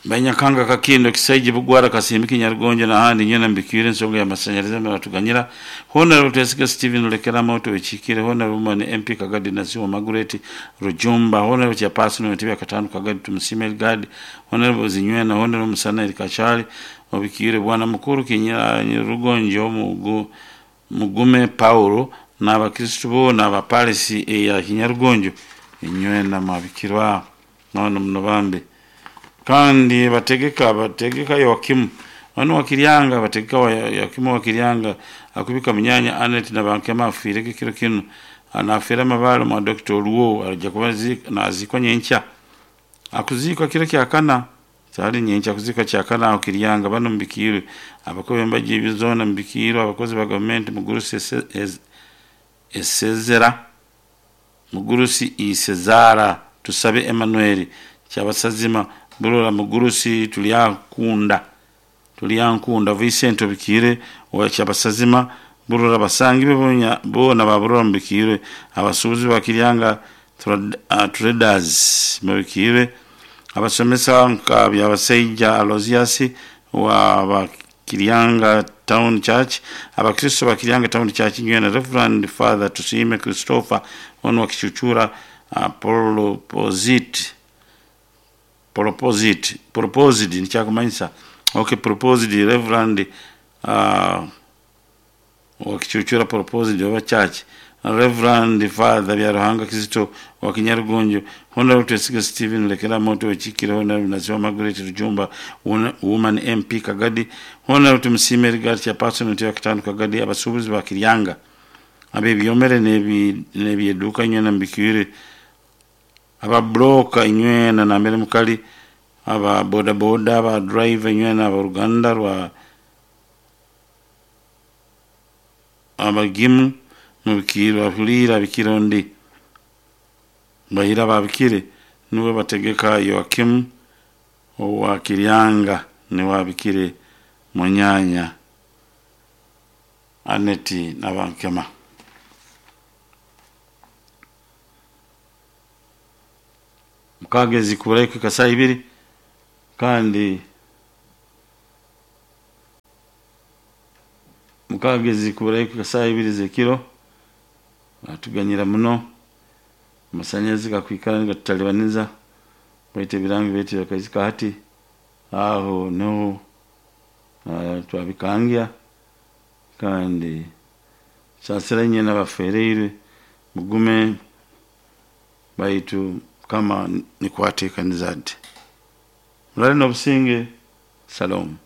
Banyakanga Kakindo Kisaiji Bugwara Kasimbiki Nyarugonjo n'ahandi nyowe mbikiire ensonga y'amasanyarazi baratuganyira. Honorable Twesiga Steven Lukera Moto Wechikire, Honorable Woman MP Kagadi Nasiwa Margaret Rujumba, Honorable Chairperson w'entebe ya Katano Kagadi Tumusime Elgad, Honorable Zinywena, Honorable Musana Eli Kachali Obikiire, Bwana Mukuru Kinyira Rugonjo Mugu Mugume Paulo n'abakristu boona abapalisi eya Kinyarugonjo inywena mwabikirwa nono muno bambi. Kandi bategeka Yoakimu wanu wakiryanga bategeka wa Yoakimu wakiryanga akubika munyanya Anet na bankema afiireko kiro kinu anafiira amabale mwa Dr. Oluwo ajja kuba nazikwa nyenkya akuzikwa kiro kyakana sali nyenkya kuzikwa kyakana aho Kiryanga. Bano mubikiirwe abakozi b'embaji zoona mubikiirwe abakozi ba gavumenti mugurusi Esezera mugurusi Isezara Tusabe Emmanuel Kyabasazima Burora mugurusi Tulyankunda Vincent Obikiire wa Kyabasazima Burora basangi be boona ba Burora mubikiirwe abasuubuzi ba Kiryanga Traders mubikiirwe abasomesa nka Byabasaija Aloysius wa Bakiryanga Town Church, abakristo ba Kiryanga Town Church nywena Reverend Father Tusime Christopher ono wa Kichuchura proposed nikyakumanyisa okay proposed Reverend wa Kichuchura proposed oba church Reverend Father Byaruhanga Kizito wa Kinyarugonjo, Honorable Twesiga Steven Lekera Moto Wechikire, Honorable Nasiwa Margaret Rujumba Woman MP Kagadi, Honorable Tumusime Rigard Chairperson w'entebe ya Katano Kagadi, abasuubuzi ba Kiryanga abebyomere n'ebyeduuka inywena mubikiire, ababulooka inywena nambere mukali, aba bodaboda, aba driver inywena aboruganda rwa abagimu mubikiirwe abahuliire abikire ondi bahira babikire niwe bategeka Yoakimu owa Kiryanga niwe abikire munyanya Aneti Nabankema. Mukagezi kuburaiko kasaa ibiri kandi mukagezi kuburaiko kasaa ibiri z'ekiro batuganyira muno amasanyarazi gakwikara nigatutalibaniriza baitu ebirangi byaitu byakaizika hati aho niho twabikangya kandi saasira inywe n'abafereirwe mugume baitu Mukama nikwatekaniza ati murare n'obusinge. Shalom.